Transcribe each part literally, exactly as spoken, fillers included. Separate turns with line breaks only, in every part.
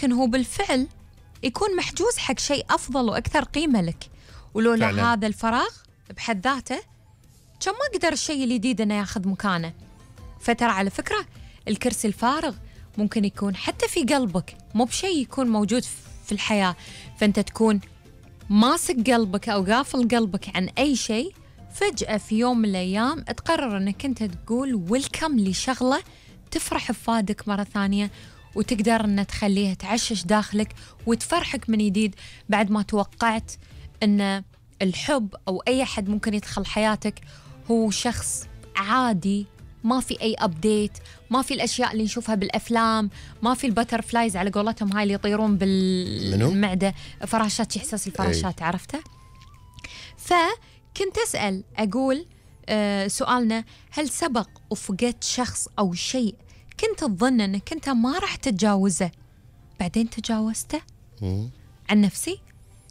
ولكن هو بالفعل يكون محجوز حق شيء أفضل وأكثر قيمة لك، ولولا فعلا. هذا الفراغ بحد ذاته كان ما قدر الشيء الجديد أنه ياخذ مكانه. فترى على فكرة الكرسي الفارغ ممكن يكون حتى في قلبك، مو بشيء يكون موجود في الحياة، فأنت تكون ماسك قلبك أو قافل قلبك عن أي شيء، فجأة في يوم من الأيام تقرر أنك أنت تقول ويلكم لشغلة تفرح بفادك مرة ثانية، وتقدر أن تخليها تعشش داخلك وتفرحك من جديد بعد ما توقعت أن الحب أو أي حد ممكن يدخل حياتك هو شخص عادي، ما في أي أبديت، ما في الأشياء اللي نشوفها بالأفلام، ما في البترفلايز على قولتهم هاي اللي يطيرون بالمعدة، فراشات، إحساس الفراشات أي. عرفته؟ فكنت أسأل أقول آه سؤالنا، هل سبق وفقدت شخص أو شيء كنت تظن أنك أنت ما راح تتجاوزه بعدين تجاوزته؟ مم. عن نفسي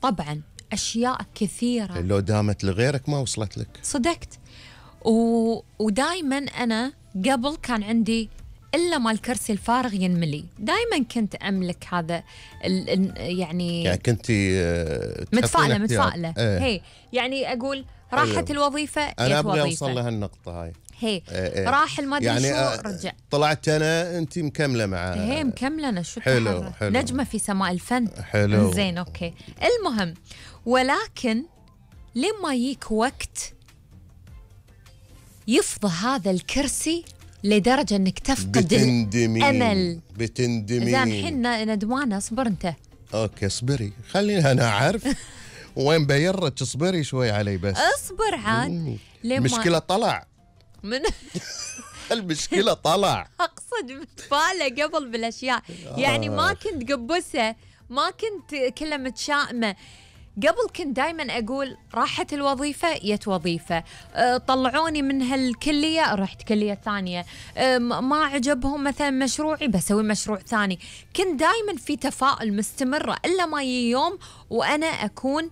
طبعا أشياء كثيرة
لو دامت لغيرك ما وصلت لك.
صدقت. و... ودايما أنا قبل كان عندي إلا ما الكرسي الفارغ ينملي، دايما كنت أملك هذا ال... ال... يعني
يعني كنت
متفائلة متفائلة ايه. هي يعني أقول راحت الوظيفة،
أنا أبغى أوصل لهالنقطة هاي.
هي ايه. راح المدري يعني شو رجع،
طلعت أنا أنت مكملة معاه.
هي مكملة أنا شو
حلو حلو.
نجمة في سماء الفن.
حلو
زين أوكي. المهم ولكن لما يجيك وقت يفضى هذا الكرسي لدرجة أنك تفقد
بتندمين.
الأمل.
بتندمين.
زين الحين ندمانة. اصبر أنت.
أوكي اصبري، خليني أنا أعرف وين بيرك، اصبري شوي علي بس.
اصبر عاد.
المشكلة طلع
من
المشكلة طلع.
أقصد متفائلة قبل بالأشياء يعني ما كنت قبسة، ما كنت كلها متشائمة. قبل كنت دايما أقول راحت الوظيفة يت وظيفة، أه طلعوني من هالكلية رحت كلية ثانية، أه ما عجبهم مثلا مشروعي بسوي مشروع ثاني. كنت دايما في تفاؤل مستمرة إلا ما يجي يوم وأنا أكون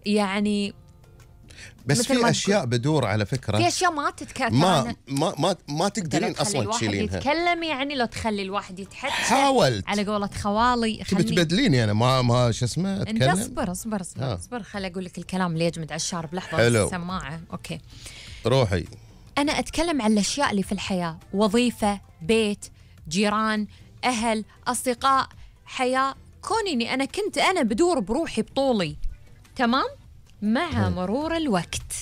يعني
بس في اشياء بدور على فكره،
في اشياء ما تتكرر،
ما ما ما, ما تقدرين اصلا تشيلينها.
يتكلم يعني لو تخلي الواحد يتحدث.
حاولت
على قولة خوالي
خليني تبدليني انا ما ما شو اسمه اتكلم.
انت اصبر اصبر اصبر آه. اصبر خلي اقول لك الكلام اللي يجمد على الشارب. لحظه
حلو.
السماعه اوكي
روحي.
انا اتكلم عن الاشياء اللي في الحياه، وظيفه، بيت، جيران، اهل، اصدقاء، حياه. كوني انا كنت انا بدور بروحي بطولي تمام. مع مرور الوقت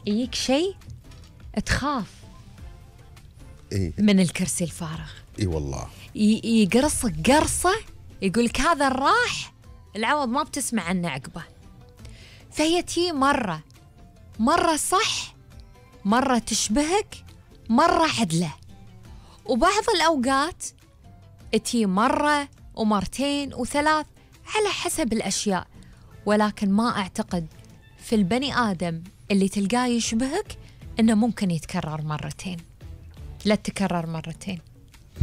يجيك شيء تخاف
إيه؟
من الكرسي الفارغ.
اي والله
يقرصك قرصة يقولك هذا راح العوض ما بتسمع عنه عقبه. فهي تي مرة مرة صح، مرة تشبهك، مرة عدلة، وبعض الأوقات تي مرة ومرتين وثلاث على حسب الأشياء. ولكن ما أعتقد في البني آدم اللي تلقاه يشبهك إنه ممكن يتكرر مرتين. لا تكرر مرتين.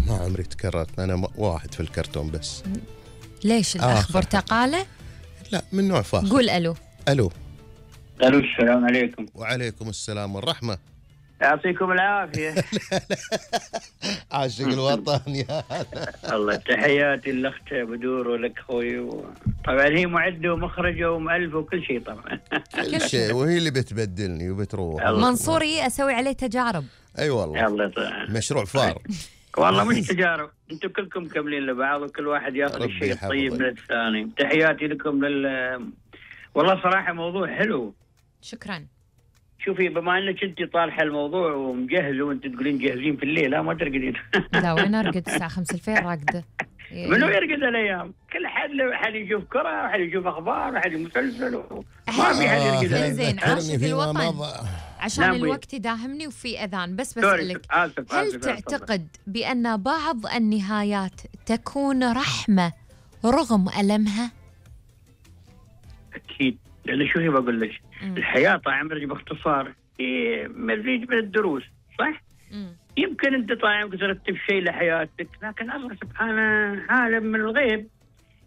ما عمري تكررت أنا واحد في الكرتون بس.
ليش الأخ برتقالة؟
لا من نوع فاخر.
قول ألو.
ألو.
ألو السلام عليكم.
وعليكم السلام والرحمة.
يعطيكم العافية.
عاشق الوطن يا هلا.
الله تحياتي لأخت بدور ولك خوي. طبعا هي معدة ومخرجة ومؤلفة وكل شيء طبعا.
كل شيء، وهي اللي بتبدلني وبتروح.
منصوري أسوي عليه تجارب.
أي والله.
الله طبعا.
مشروع فار.
والله مش تجارب، انتم كلكم كاملين لبعض وكل واحد ياخذ الشيء الطيب من الثاني. تحياتي لكم لل والله صراحة موضوع حلو.
شكرا.
شوفي بما انك انت طالحه الموضوع ومجهزه وانت تقولين جاهزين في الليل، لا ما ترقدين.
لا وين ارقد الساعه خمسة الفجر راقده.
منو يرقد الايام؟ كل حد حد يشوف كره، حد يشوف اخبار، حد مسلسل، ما في حد يرقد.
آه زين عاشق الوطن عشان نعم الوقت يداهمني وفي اذان. بس بسالك
آسف
هل
آسف
تعتقد بان بعض النهايات تكون رحمه رغم المها؟
اكيد، لأن شو هي بقول لك، الحياة طال عمرك باختصار هي مزيج من الدروس، صح؟
مم.
يمكن أنت طال عمرك ترتب شيء لحياتك، لكن الله سبحانه عالم من الغيب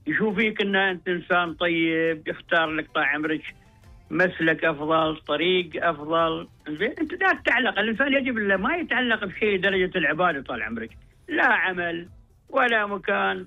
يشوف فيك أن أنت إنسان طيب، يختار لك طال عمرك مسلك أفضل، طريق أفضل. زين أنت لا تتعلق، الإنسان يجب ما يتعلق بشيء درجة العبادة طال عمرك، لا عمل ولا مكان